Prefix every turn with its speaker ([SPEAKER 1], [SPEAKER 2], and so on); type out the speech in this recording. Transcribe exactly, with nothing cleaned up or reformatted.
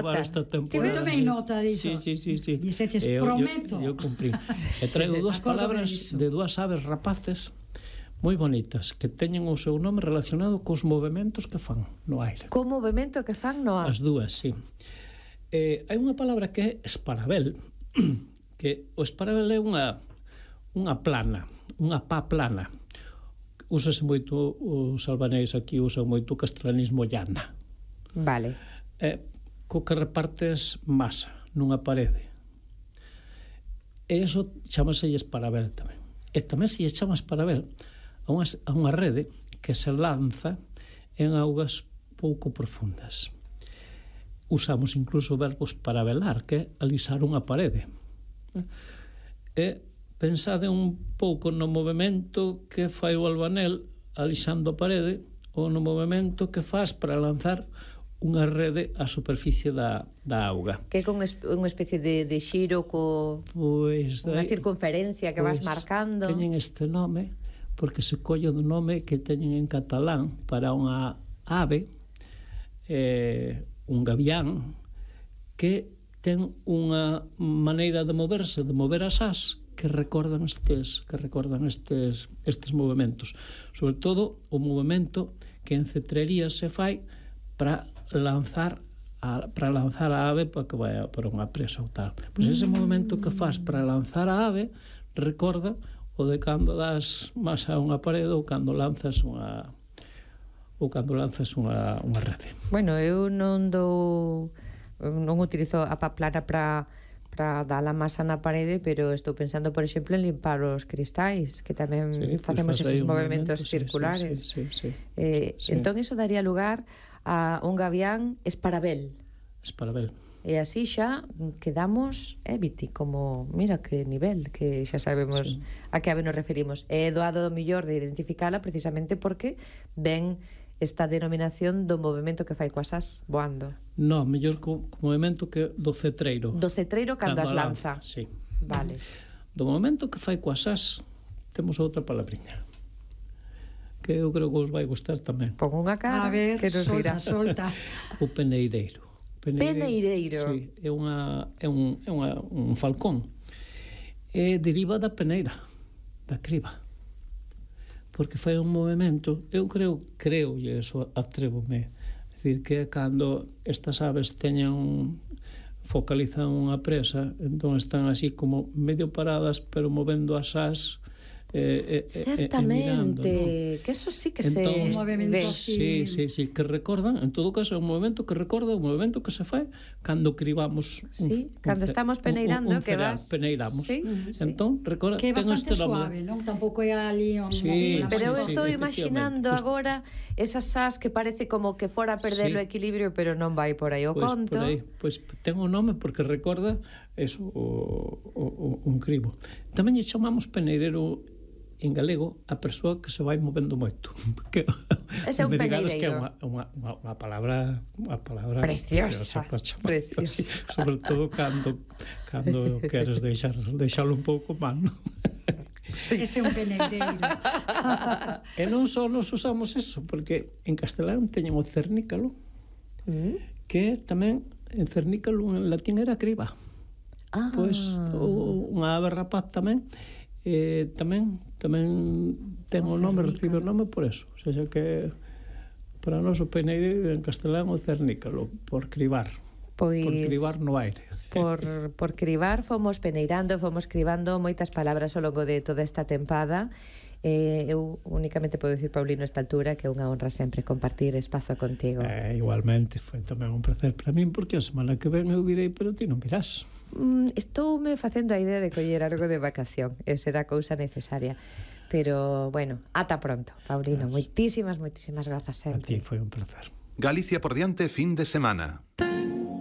[SPEAKER 1] acabar
[SPEAKER 2] nota.
[SPEAKER 1] esta temporada.
[SPEAKER 3] Tive tomei nota diso.
[SPEAKER 1] Sí, sí, sí, sí.
[SPEAKER 3] Dixeches,
[SPEAKER 1] Eu-
[SPEAKER 3] prometo.
[SPEAKER 1] Eu, eu cumprí. E traigo dúas
[SPEAKER 3] Acórdome
[SPEAKER 1] palabras
[SPEAKER 3] diso.
[SPEAKER 1] de dúas aves rapaces moi bonitas que teñen o seu nome relacionado cos movementos que fan no aire.
[SPEAKER 2] Co movimento que fan no ar.
[SPEAKER 1] As dúas, sí. Eh, hai unha palabra que é esparabel, que o esparabel é unha unha plana, unha pá plana. Úsase moito, os albaneis aquí usan moito o castellanismo llana.
[SPEAKER 2] Vale.
[SPEAKER 1] Eh, co que repartes masa nunha parede. E iso chamase esparabel tamén. E tamén se lle chama esparabel a unha, a unha rede que se lanza en augas pouco profundas. Usamos incluso verbos para velar, que é alisar unha parede. E pensade un pouco no movimento que fai o albanel alisando a parede ou no movimento que faz para lanzar unha rede á superficie da, da auga.
[SPEAKER 2] Que é con es, unha especie de, de xiro co
[SPEAKER 1] Pois
[SPEAKER 2] unha
[SPEAKER 1] dai,
[SPEAKER 2] circunferencia que vas
[SPEAKER 1] pois,
[SPEAKER 2] marcando.
[SPEAKER 1] teñen este nome porque se colle do nome que teñen en catalán para unha ave, eh, un gavián, que ten unha maneira de moverse, de mover as ás que recordan estes que recordan estes estes movementos. Sobre todo o movemento que en cetrería se fai para lanzar a, para lanzar a ave para que vaya para unha presa ou tal. Pois ese movemento que faz para lanzar a ave recorda o de cando das masa a unha parede ou cando lanzas unha ou cando lanzas unha, unha rede.
[SPEAKER 2] Bueno, eu non dou non utilizo a pá plana para para dar a masa na parede, pero estou pensando, por exemplo, en limpar os cristais, que tamén
[SPEAKER 1] Sí,
[SPEAKER 2] facemos
[SPEAKER 1] pues faz aí
[SPEAKER 2] esos
[SPEAKER 1] un
[SPEAKER 2] movimentos
[SPEAKER 1] movimento, sí,
[SPEAKER 2] circulares.
[SPEAKER 1] sí, sí, sí, sí.
[SPEAKER 2] Eh,
[SPEAKER 1] Sí.
[SPEAKER 2] Entón, iso daría lugar a un gavián esparabel.
[SPEAKER 1] Esparabel.
[SPEAKER 2] E así xa quedamos, eh, Viti, como, mira que nivel, que xa sabemos
[SPEAKER 1] Sí.
[SPEAKER 2] a que ave nos referimos. É doado do millor de identificala precisamente porque ven esta denominación do movimento que fai coas as voando.
[SPEAKER 1] No, mellor co, co movimento que do cetreiro.
[SPEAKER 2] Do cetreiro cando, as lanza.
[SPEAKER 1] Sí.
[SPEAKER 2] Vale.
[SPEAKER 1] Do momento que fai coas as temos outra palabriña que eu creo que os vai gustar tamén.
[SPEAKER 2] Pon unha cara
[SPEAKER 3] A ver,
[SPEAKER 2] que nos dirá.
[SPEAKER 3] solta, solta.
[SPEAKER 1] O peneireiro.
[SPEAKER 2] Peneireiro.
[SPEAKER 1] Sí, é unha é un é unha, un falcón. E deriva da peneira, da criba. Porque fai un movimento, eu creo, creo e eso atrévome, é dicir que cando estas aves teñan focalizan unha presa, entón están así como medio paradas, pero movendo as ás eh, eh,
[SPEAKER 2] Certamente,
[SPEAKER 1] eh,
[SPEAKER 2] que eso sí que
[SPEAKER 1] entón,
[SPEAKER 2] se
[SPEAKER 3] Un movimento
[SPEAKER 2] ve.
[SPEAKER 3] así.
[SPEAKER 1] Sí, sí, sí, que recordan, en todo caso é un movimento que recorda o movimento que se fai cando cribamos un,
[SPEAKER 2] Sí, cando
[SPEAKER 1] un,
[SPEAKER 2] estamos peneirando,
[SPEAKER 1] un, un
[SPEAKER 2] que
[SPEAKER 1] cereal,
[SPEAKER 2] vas-
[SPEAKER 1] peneiramos.
[SPEAKER 2] Sí,
[SPEAKER 3] sí.
[SPEAKER 1] Entón, recorda,
[SPEAKER 3] Que é
[SPEAKER 1] ten
[SPEAKER 3] bastante
[SPEAKER 1] este nome.
[SPEAKER 3] suave, non? Tampouco é ali un...
[SPEAKER 1] Sí,
[SPEAKER 3] unha
[SPEAKER 2] Pero eu
[SPEAKER 1] sí,
[SPEAKER 2] estou
[SPEAKER 1] sí,
[SPEAKER 2] imaginando
[SPEAKER 1] efectivamente.
[SPEAKER 2] agora esas as que parece como que fora a perder
[SPEAKER 1] Sí.
[SPEAKER 2] o equilibrio, pero non vai por aí o
[SPEAKER 1] Pois,
[SPEAKER 2] conto.
[SPEAKER 1] por aí, pois ten o nome porque recorda eso, o, o, o, un cribo. Tamén lle chamamos peneirero en galego a persoa que se vai movendo moito. Que,
[SPEAKER 2] Ese é un
[SPEAKER 1] me digades que é
[SPEAKER 2] peneireiro.
[SPEAKER 1] unha, unha, unha, unha palabra unha palabra
[SPEAKER 2] Preciosa,
[SPEAKER 1] para chamar
[SPEAKER 2] preciosa.
[SPEAKER 1] así, sobre todo cando cando queres deixar deixalo un pouco mal, non?
[SPEAKER 3] Sí. Ese é un peneireiro.
[SPEAKER 1] E non só nos usamos eso, porque en castelán teñen o cernícalo,
[SPEAKER 2] Mm.
[SPEAKER 1] que tamén en cernícalo en latín era criba.
[SPEAKER 2] Ah.
[SPEAKER 1] Pois o, unha ave rapaz tamén eh, tamén tamén ten o,
[SPEAKER 3] O
[SPEAKER 1] nome,
[SPEAKER 3] cernícalo.
[SPEAKER 1] recibe o nome por eso, o sea, que para nós o peneireiro en castelán o cernícalo, por cribar,
[SPEAKER 2] Pois
[SPEAKER 1] por cribar no aire.
[SPEAKER 2] por, por cribar fomos peneirando, fomos cribando moitas palabras ao longo de toda esta tempada. Eh, eu únicamente podo dicir, Paulino, a esta altura que é unha honra sempre compartir espazo contigo.
[SPEAKER 1] Eh, igualmente, foi tamén un placer para min, porque a semana que ven eu virei, pero ti non virás.
[SPEAKER 2] Mm, estoume facendo a idea de coller algo de vacación, e será cousa necesaria. Pero, bueno, ata pronto, Paulino.
[SPEAKER 1] Gracias.
[SPEAKER 2] Moitísimas, moitísimas grazas
[SPEAKER 1] A ti
[SPEAKER 2] sempre.
[SPEAKER 1] foi un placer.
[SPEAKER 4] Galicia por diante fin de semana.